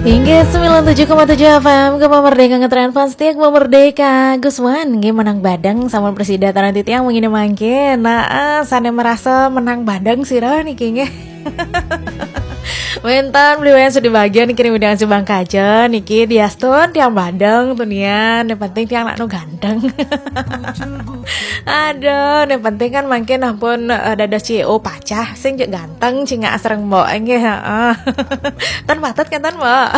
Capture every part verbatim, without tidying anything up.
Inggih, sembilan tujuh koma tujuh F M, Gema Merdeka, ngetren fans setia Gema Merdeka. Gus Wan, nggih, menang badeng sama presida tanah titiang mengini mangke. Nah, eh, sana merasa menang badeng sih, niki, nggih. Wénten beli wayan sedih bagian niki, nih, udah ngasih bangkaja niki, diastun tiang badeng tuh nian. Yang penting tiang nak nu ganteng. Aduh, yang penting kan mangke ampun, eh, dados C E O pacah, sing cek ganteng, cingak asreng mbok, nggih, heeh. Ten patut kan, ten, Mbok?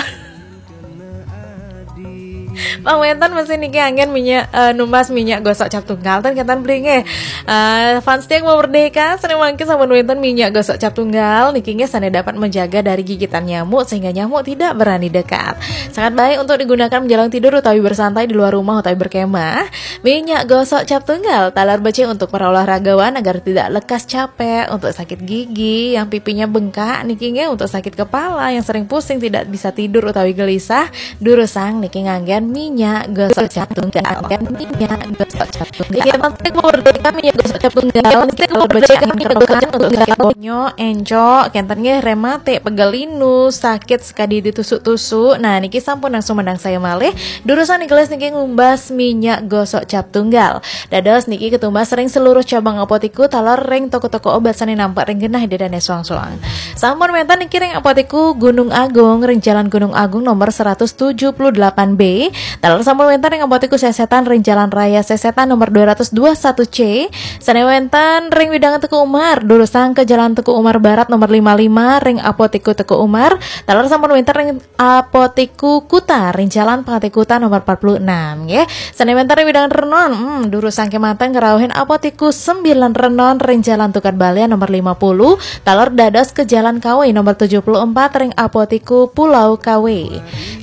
Pang wénten mesin niki anggen minyak, eh, numbas minyak gosok cap tunggal, ten, kenten beli, nggih. Eh, fans tiang mau merdeka, seneng mangke sampun wénten minyak gosok cap tunggal niki, nggih, sana dapat menjaga dari gigitan nyamuk sehingga nyamuk tidak berani dekat. Sangat baik untuk digunakan menjelang tidur utawi bersantai di luar rumah utawi berkemah. Minyak gosok cap tunggal talar becik untuk para olahragawan agar tidak lekas capek, untuk sakit gigi, yang pipinya bengkak niki, nggih, untuk sakit kepala, yang sering pusing tidak bisa tidur utawi gelisah, durusang niki nganggen minyak gosok cap tunggal. Nganggen minyak gosok cap tunggal. Nggih, penting merdeka minyak gosok cap tunggal. Penting merdeka minyak gosok cap tunggal. Nyo, encok, kenten, nggih, rematik, pegel linu, sakit sekadi ditusuk-tusuk. Nah, niki sampun langsung menang saya malih. Durusang niki gelis niki ngumbas minyak gosok cap tunggal. Dados niki ketumbas ring seluruh cabang apotiku talar ring toko-toko obat sane nampak ring genah ida dane suang-suang. Sampun wénten niki ring apotiku Gunung Agung, ring Jalan Gunung Agung nomor seratus tujuh puluh delapan B. Talar sampun wénten ring apotiku Sesetan, ring Jalan Raya Sesetan nomor dua ratus dua satu C. Sane wénten ring wewidangan Teuku Umar, durusang ke Jalan Teuku Umar Barat nomor lima lima, ring apotiku Teuku Umar. Talar sampun wénten ring apotiku Kuta, ring Jalan Pangate Kuta nomor empat puluh enam, nggih. Sane wénten ring wewidangan Renon, hmm, durusang kemanten ngrauhin apotiku Sembilan Renon, ring Jalan Tukad Balian nomor lima puluh, talar dados ke Jalan Kawe nomor tujuh puluh empat, ring apotiku Pulau Kawe.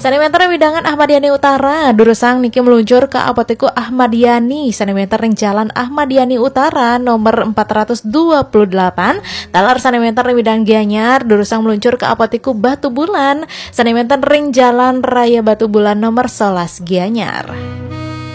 Sane wénten ring wewidangan Ahmad Yani Utara, durusang niki meluncur ke apotiku Ahmad Yani, sane wénten ring Jalan Ahmad Yani Utara nomor empat ratus dua puluh delapan, talar sane wénten ring wewidangan Gianyar, durusang meluncur ke apotiku Batu Bulan, sane wénten ring Jalan Raya Batu Bulan nomor sebelas Gianyar.